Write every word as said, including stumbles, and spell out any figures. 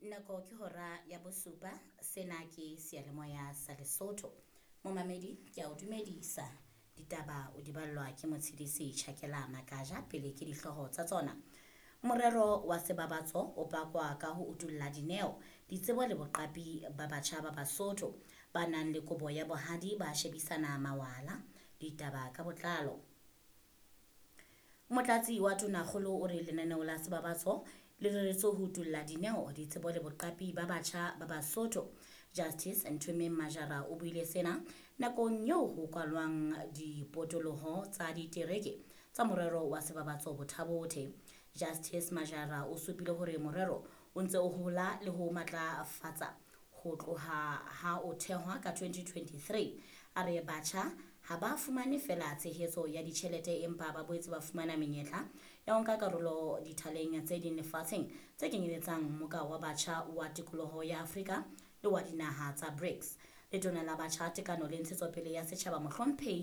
Nako ke hora ya bosupa. Sena ke seyalemoya sa Lesotho. Momamedi, ke a o dumedisa. Ditaba o di ballwa ke Motshidisi Tjhakela Makaja. Pele ke dihlooho tsa tsona. Morero wa Sebabatso o pakwa ka ho utulla dineo, ditsebo le boqapi ba batjha ba Basotho ba nang le kobo ya bohadi ba shebisana mawala. Ditaba ka botlalo. Motlatsi wa Tonakgolo o re lenaneo la Sebabatso le reretswe ho utulla dineo, ditsebo le boqapi ba batjha ba Basotho. Justice Nthomeng Majara o buile sena nakong eo ho kwalwang dipotoloho tsa ditereke tsa morero wa Sebabatso Bothabothe. Justice Majara o supile hore morero o ntse o hola le ho matlafatsa ho tloha ha o thehwa ka twenty twenty-three. A re batjha ha ba fumane feela tshehetso ya ditjhelete empa ba boetse ba fumana menyetla ya ho nka karolo dithaleng tse ding lefatsheng tse kenyeletsang Mmoka wa Batjha wa Tikoloho ya Afrika le wa dinaha tsa BRICS. Letona la Batjha, Tekano le Ntshetsopele ya Setjhaba Mohlomphehi